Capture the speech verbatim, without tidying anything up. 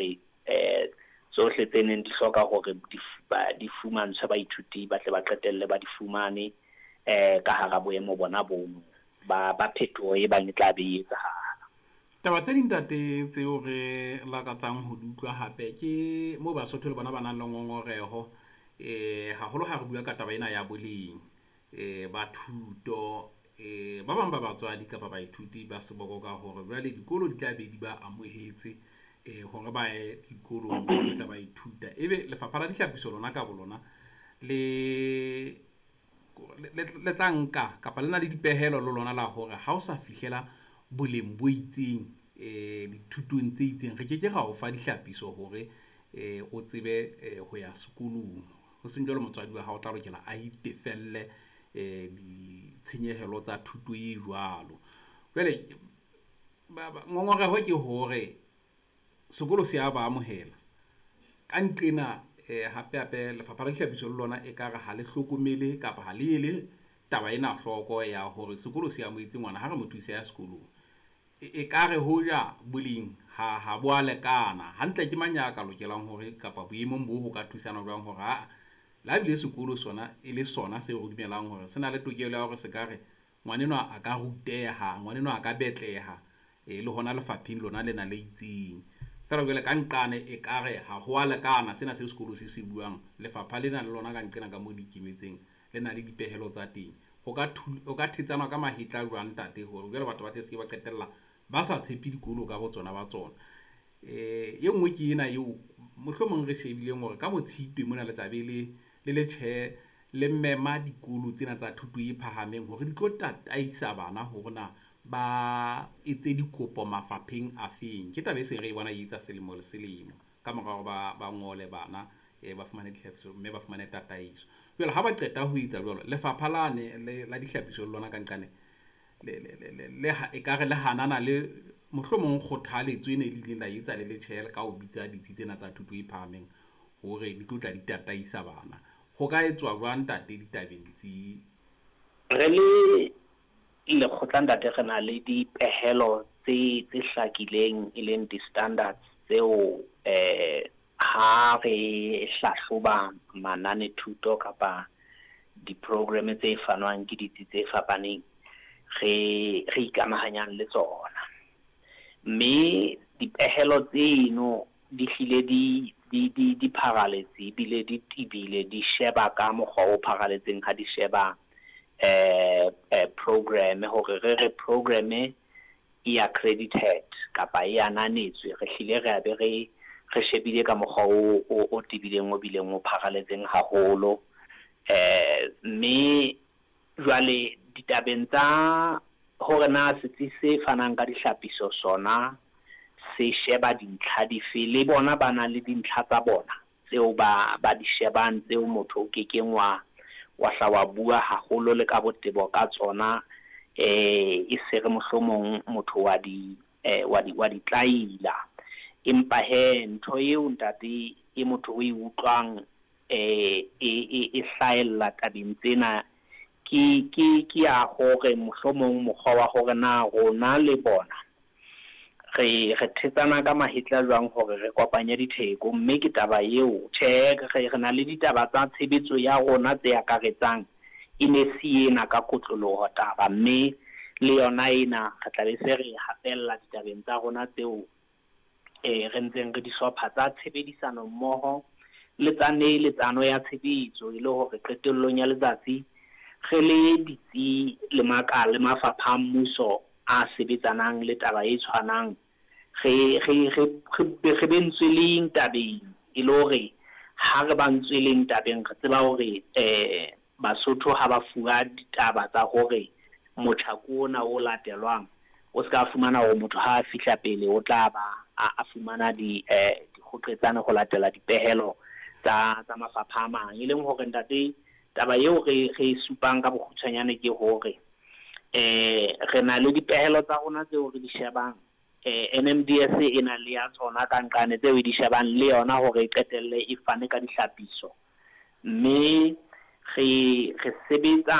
hore eh tsohle tse neng di hloka hore di di fumantshwe baithuti ba tle ba qetelle ba di fumane eh ka hara boemo bona bono ba ba phetoho e bang e tla be e etsahala. Taba tse ding ntate tseo re lakatsang ho di utlwa hape ke moo Basotho le bona ba nang le ngongoreho eh haholo ha re bua ka taba ena ya boleng eh ba thuto. Eh ba bang ba batswadi kapa baithuti ba seboko ka hore jwale dikolo di tla be di ba amohetse eh hore ba ye dikolong ba tla ba ithuta, ebe lefapha la dihlapiso lona ka bolona le le tla nka kapa le na le dipehelo le lona la hore ha o sa fihlela boleng bo itseng eh dithutong tse itseng, re ke ke ra o fa dihlapiso hore eh o tsebe ho ya sekolong. Ho seng jwalo motswadi wa hao o tla lokela a itefelle eh ditshenyehelo tsa thuto e jwalo. Jwale ngongoreho ke hore sekolo se a ba amohela ka nqena eh hape hape lefapha la dihlapiso le lona ekare ha le hlokomele kapa ha le ele taba ena hloko ya hore sekolo se amohetse ngwana ha re mo thuse ya sekolong. E kare hoja boleng ha ha bo a lekana hantle, ke mang ya ka lokelang hore kapa boemong bo ho ka thusana jwang hore ha la bile sekolo sona e le sona seo re dumelang hore se na le tokelo ya hore se ka re ngwanenwa a ka ruteha, ngwanenwa a ka betleha e le hona lefapheng lona lena le itseng. Feela jwale ka nqane e kare ha ho a lekana sena se sekolo se se buang, lefapha lena le lona ka nqena ka mo di ikemetseng le na le dipehelo tsa teng. Ho ka ho ka thetsana ka mahetla jwang ntate hore jwale batho ba tle se ke ba qetella ba sa tshepe dikolo ka botsona ba tsona. Eh e nngwe ke ena eo mohlomong re shebileng hore ka botshitwe mona le tla be le le le tjhe le mema dikolo tsena tsa thuto e phahameng hore di tlo tataisa bana hore na ba etse dikopo mafapheng a feng. Ke taba e seng re e bona e etsa selemo le selemo ka mora hore ba ba ngole bana eh ba fumane dihlapiso mme ba fumane tataiso. Jwale ha ba qeta ho etsa jwalo, lefapha lane le la dihlapiso le lona ka nqane le le le le ekare le hanana le mohlomong kgothaletso ene e ileng la etsa le letjhe ka ho bitsa ditsi tsena tsa thuto e phahameng hore di tlo tla di tataisa bana. Ho ka etswa jwang ntate ditabeng tse? Re le lekgotla ntate re na le dipehelo tse tse hlakileng e leng di-standards tseo eh ha re hlahloba manane thuto kapa di-program tse fanwang ke ditsi tse fapaneng re re ikamahanyang le tsona. Mme dipehelo tseno di hlile di di di di pharaletse ebile di tibile, di sheba ka mokgwa o pharaletseng ha di sheba eh eh program hore re re program e accredited kapa e ananetswe, re hlile re a be re re shebile ka mokgwa o o o tibileng o bileng o pharaletseng haholo. Eh mme jwale ditabeng tsa hore na setsi se fanang ka dihlapiso sona se sheba dintlha dife, le bona ba na le dintlha tsa bona tseo ba ba di shebang tseo motho o kekeng wa wa hla wa bua haholo le ka botebo ka tsona eh e se re mohlomong motho wa di eh wa di wa di tlaila. Empa he ntho eo ntate e motho o e utlwang eh e e e hlahella tabeng tsena ke ke ke ya hore mohlomong mokgwa wa hore na rona le bona re re thetsana ka mahetla jwang hore re kopanye ditheko. Mme ke taba eo tjhe re re na le ditaba tsa tshebetso ya rona tse akaretsang e ne se ena ka kotloloho taba, mme le yona ena re tla be se re hapella ditabeng tsa rona tseo eh re ntseng re di hlopha tsa tshebedisano mmoho le tsa neeletsano ya tshebetso, e le hore qetellong ya letsatsi re le ditsi le makala le mafapha a mmuso a sebetsanang le taba e tshwanang re re re re be ntsweleng tabeng, e le hore ha re ba ntsweleng tabeng re tseba hore eh Basotho ha ba fuwa ditaba tsa hore motjhako ona o latelwang o ska fumana hore motho ha a fihla pele o tla ba a fumana di eh dikgoqetsane ho latela dipehelo tsa tsa mafapha a mang. E leng hore ntate taba eo re re supang ka bokgutshwanyane ke hore eh re na le dipehelo tsa rona tseo re di shebang, eh N M D S e na le ya tsona ka nqane tseo e di shebang le yona hore e qetelle e fane ka dihlapiso, mme re re sebetsa